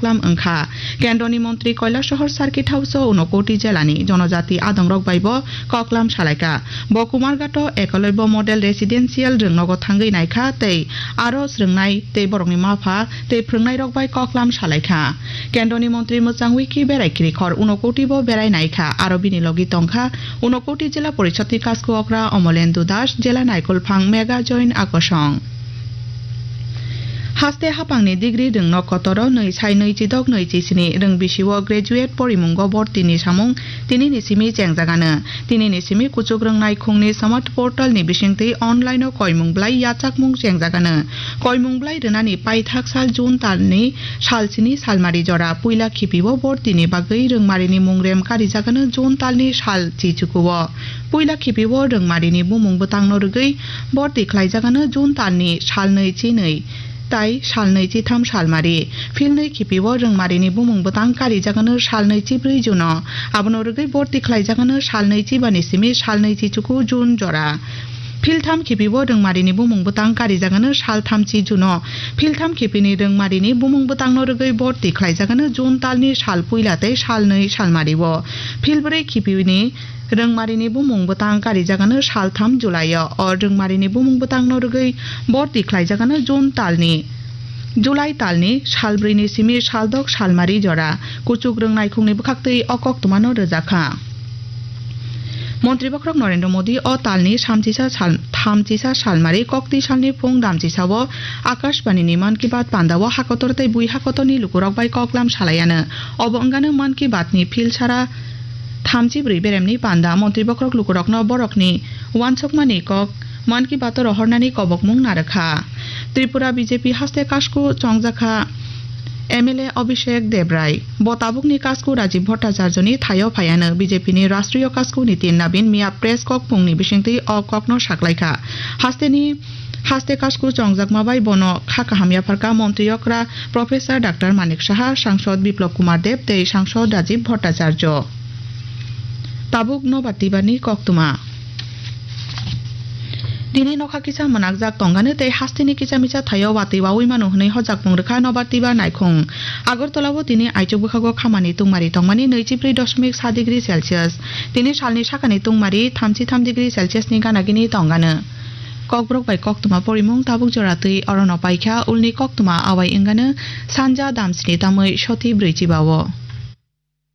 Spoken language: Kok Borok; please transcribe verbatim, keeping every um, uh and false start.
koklam wngkha. Kendroni montri Kailasahar Circuit House-o Unakoti jelani jonojati adongrok bai bo koklam salaikha. Bo Kumarghato Ekalobya Model Residential rwngnogo thangwi naikha tei aro swrwngnai tei borokni mapha tei phwrwngnairok bai koklam salaikha. Kendroni montri mwchangwi khe berai kirikhor Unakoti bo berai naikha, aro bini logi tongkha Unakoti Jila Porishadni kasku okra Omolendu Das, Jila Naikolphang Mega Join Akosong. Haste hapangni degree rwngno kotoro nwi sai nwi chidok nwi chisini rwng bisio graduate porimungo bortini samung tinini simi chengjagano. Tinini simi kuchuk rwng naikhungni smart portal ni bisingtwi online o koimung blai yachakmung chengjagano. Koimung blai rwnani paithak sal June talni sal sini salmari jora puila khipio bortini bagwi rwngmarini mungrem karijagano June talni sal chichukuo. Puila khipio rwngmarini bumung bwtangno rwgwi borti khlaijagano June talni salnwi chinwi tai salnwi chitham salmari. Philnwi khipio rwngmarini bumung bwtang karijagano salnwi chibrwi June-o. Abono rwgwi borti khlaijagano salnwi chibani simi salnwi chichuku June jora. Philtham khipio rwngmarini bumung bwtang karijagano salthamchi June-o. Philtham khipini rwngmarini bumung bwtangno rwgwi borti khlaijagano June talni sal puila tei salnwi salmario. Philbrwi khipini rwngmarini bumung bwtang karijagano saltham July-o. O rwngmarini bumung bwtangno rwgwi borti khlaijagano June talni, July talni salbrwini simi saldok salmari jora. Kuchuk rwng naikhungni bwkhaktwi o koktwmano rwjakha. Montri Bokhorok Narendra Modi o talni samchisa sal-, thamchisa salmari kokti salni phung damchisao Akashbanini Mann Ki Baat pandao hakotor tei bui hakotorni lukurok bai koklam salaiano. Obo wngano Mann Ki Baatni philsara thamchi brwi beremni panda. Montri Bokhorok lukurokno borokni uansukmani kok Mann Ki Baat-o rohornani kobokmung narwkha. Tripura B J P haste kasku chongjakha M L A Abhishek Debrai. Bo tabukni kasku Rajiv Bhattacharjoni thaio phaiano B J P ni Rashtriyo kasku Nitin Nabin miya press kok phungni bisingtwi o kokno saklaikha. Hasteni, haste kasku chongjakma bai bono kha kaham yapharkha montri okra Professor Doctor Manik Saha, Sangsod Biplab Kumar Deb tei Sangsod Rajiv Bhattacharjo. Tabuk Nobar Tibarni koktwma. Tini nokha kisa mwnakjak tongano tei hasteni kisa misa thaio watwi wawi mano hwnwi hojakmung rwkha Nobar Tibar naikhung. Agartala-o tini aichuk bwkhago khamani tungmari tongmani nwichibrwi dosmik sa degree Celsius. Tini salni sakani tungmari thamchi tham degree Celsius ni gana gini tongano. Kokborok bai koktwma porimung tabuk jora twi orono paikha, ulni koktwma awai wngano sanja damsni tamwi soti brwi chibao.